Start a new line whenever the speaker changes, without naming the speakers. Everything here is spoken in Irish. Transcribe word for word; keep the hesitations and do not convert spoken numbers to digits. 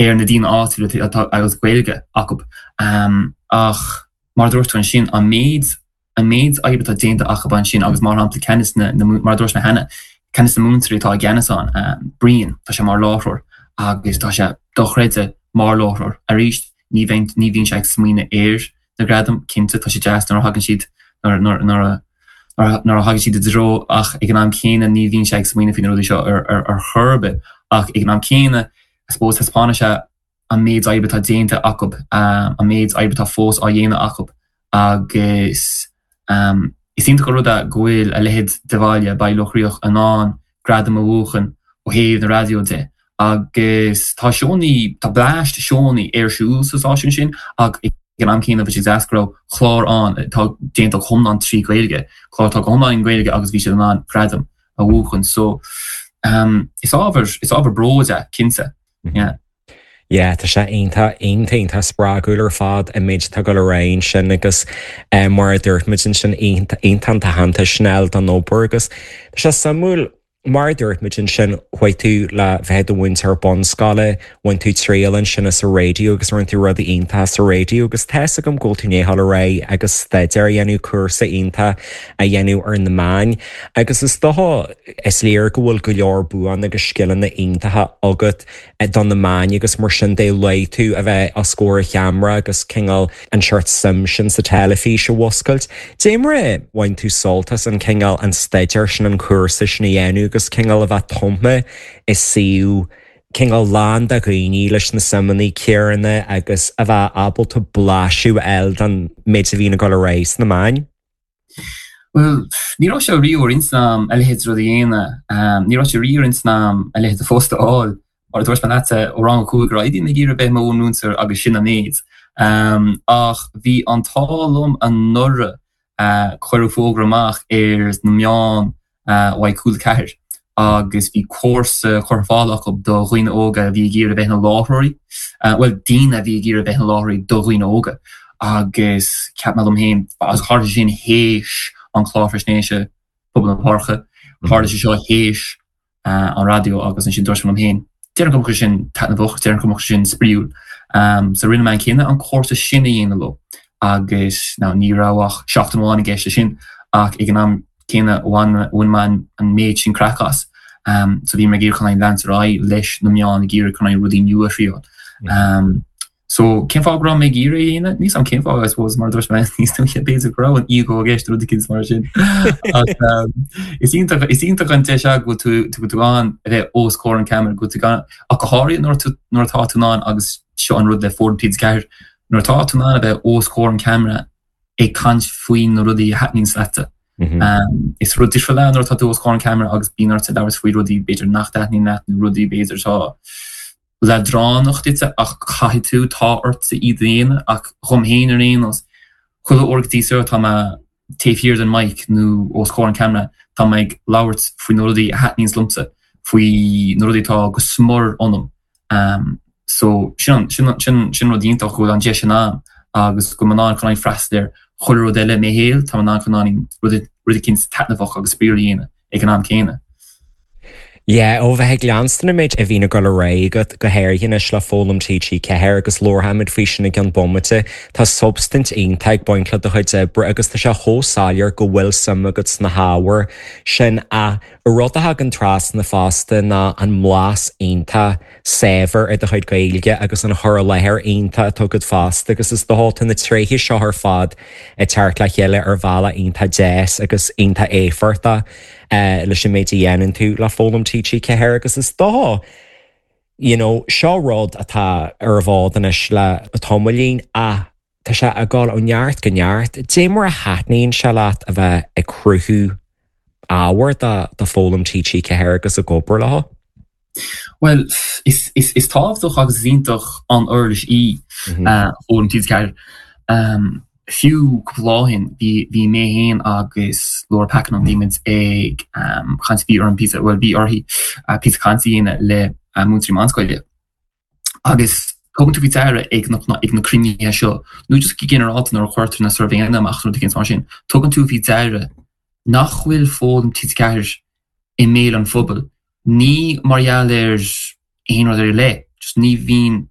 Ar na daoine áitiúla atá agus Gaeilge acu um, ach mar dúirt ansin an méid an méid oibre atá déanta acu ansin agus mar shampla ceann na, na mar dúirt mé cheana ceann na múinteoirí atá i gceannas ann um, Brian, tá sé mar láithreoir agus tá sé dochreidte mar láithreoir. Arís, ní bheinn ní bhíonn sé ag smaoineamh ar na gradaim. Cinnte, tá sé deas nuair a thagann siad nuair nuair nuair a nuair a thagann siad i dtreo, ach ag an am céanna ní bhíonn sé ag smaoineamh faoi na rudaí seo ar ar ar chor ar bith. Ach ag an am céanna, I suppose, taispeánann sé an méid oibre atá déanta acu, um, an méid oibre atá fós á dhéanamh acu agus um, is iontach an rud é go bhfuil a leithéid de bhaile, Baile Locha Riach, in ann gradam a bhuachan ó thaobh na raidió de. Agus tá seónna, tá bleaist seónna ar siúl sa stáisiún sin, ach ag an am céanna bhí sé deas go raibh clár ann atá déanta go hiomlán trí Ghaeilge, clár atá go hiomlán i nGaeilge, agus bhí siad in ann gradam a bhuachan. So um, is ábhar is ábhar bróid é, cinnte. Yeah.
Yeah, tá sé iontach iontach iontach spreagúil ar fad an méid atá ag dul ar aghaidh ansin agus eh, mar a dúirt muid ansin, iontach an t-aitheantas sin don obair. Agus tá sé suimiúil, mar a dúirt muid ansin, chuaigh tú le bheith i do mhúinteoir bunscoile, bhain tú triail ansin as an raidió agus rinne tú rudaí iontacha sa raidió agus tá a fhios agam go bhfuil tú i ndiaidh dul ar aghaidh agus staidéar a dhéanamh, cúrsa iontach a dhéanamh ar na meáin, agus is dócha is léir go bhfuil go leor buanna agus scileanna iontacha agat do na meáin agus mar sin de. Luaigh tú a bheith os comhair an cheamara agus cineál an seort suim sin sa teilifís a mhúscailt. Dé mar a bhain tú sult as an cineál an staidéar sin, an cúrsa sin a dhéanamh agus cineál a bheith tumtha i suíomh cineál lán de dhaoine leis na suimeanna céanna agus a bheith ábalta blaiseadh a fháil den méid a bhíonn ag dul ar aghaidh sna meáin?
Well, ní raibh sé riamh ar intinn agam a leithéid rud a dhéanamh. Ní raibh sé riamh ar intinn agam a leithéid de phost a fháil. Mar a dúirt mé leat, ó rang a cúig ar aghaidh bhí mé ag iarraidh bheith i mo mhúinteoir agus sin an méid. Ach bhí an t-ádh liom anuraidh, cuireadh fógra amach ar na meáin uaidh Cúla Ceathair agus bhí cúrsa curtha ar fáil acu do dhaoine óga a bhí ag iarraidh bheith ina láithreoirí, bhuel, daoine a bhí ag iarraidh bheith ina láithreoirí do dhaoine óga. Agus cheap mé liom féin, agus tharla sé sin théis an clár faisnéise Pobal na Páirce, tharla sé seo théis an raidió, agus ansin dúirt mé liom féin, déarfainn go mbeadh sé sin taitneamhach, déarfainn go mbeadh sé sin spraíúil. So rinne mé an cinneadh an cúrsa sin a dhéanamh leo agus now ní raibh ach seachtain amháin i gceist leis sin, ach ag an am céanna bhain bhain mé an méid sin craic as. So bhí mé ag iarraidh chun leanúint ar aghaidh leis na meáin, ag iarraidh chun rudaí nua a thriail. So cén fáth go raibh mé ag iarraidh a dhéanamh? Níl a fhios agam cén fáth, I suppose, mar a dúirt mé níos luaithe, b'fhéidir go raibh an ego i gceist, rud eicínt mar sin. Ach is iontach is iontach an deis é go bhfuil tú go bhfuil tú in ann a bheith os comhair an ceamara, go bhfuil tú gan ach go háirithe nuair tú nuair atá tú in ann, agus seo an rud le Foghlaim T G ceathair, nuair atá tú in ann a bheith os comhair an ceamara ag caint faoi na rudaí a thaitníonn leatsa. Is rud difriúil é nuair atá tú os comhair an ceamara agus bíonn ort labhairt faoi rudaí b'fhéidir nach dtaitníonn leat nó rudaí b'fhéidir atá leadránach duit, ach caithfidh tú, tá ortsa iad a dhéanamh. Ach dhom féin ar aon nós, chuile uair go dtí seo tá mé taobh thiar den mic nó os comhair an ceamara, tá mé ag labhairt faoi na rudaí a thaitníonns liomsa, faoi na rudaí atá go smior ionam. So sin sin sin sin rud iontach go bhfuil an deis sin ann agus go bhfuil mé in ann chun freastal ar chuile rud eile i mo shaol, tá mé in ann chun rud rud eicínt taitneamhach agus spraíúil a dhéanamh ag an am céanna.
Yeah, ó bheith ag leanstan an méid a bhíonn ag dul ar aghaidh agat, go háirithe anois le Foghlaim T G ceathair, agus labharfaimid faoi sin i gceann bomaite, tá substaint iontach ag baint le do chuid oibre agus tá sé chomh soiléir go bhfuil suim agat sna hábhair sin. Ach rud a thagann trasna fosta ná an mblas iontach saibhir ar do chuid Gaeilge agus an chur i láthair iontach atá agat fosta, agus is dócha tá na tréithe seo ar fad ag teacht le chéile ar bhealach iontach deas agus iontach éifeachtach leis an méid a dhéanann tú le Foghlaim T G ceathair. Agus is dócha you know, seo rud atá ar an bhfód anois le tamaillín, ach tá sé ag dul ó neart go neart. Dé mar a thaitníonn sé leat a bheith ag cruthú ábhar do do Foghlaim T G ceathair agus ag obair leo?
Well, is, is, is tábhachtach agus is iontach an uirlis í Foghlaim T G ceathair. Um, fiú cúpla lá ó shin bhí bhí mé féin agus Laura Pakenham, bhí muid ag um, caint, bhí orm píosa, well, bhí uirthi uh, píosa cainte a dhéanamh le uh, múinteoirí meánscoile. Agus tugann tú faoi deara ag na, ag na cruinnithe seo, nó just go ginearálta nuair a chuirtear na suirbhéanna amach, rud éigin mar sin, tugann tú faoi deara nach bhfuil Foghlaim T G ceathair i mbéal an phobail. Ní mar gheall ar aon rud ar leith, just ní bhíonn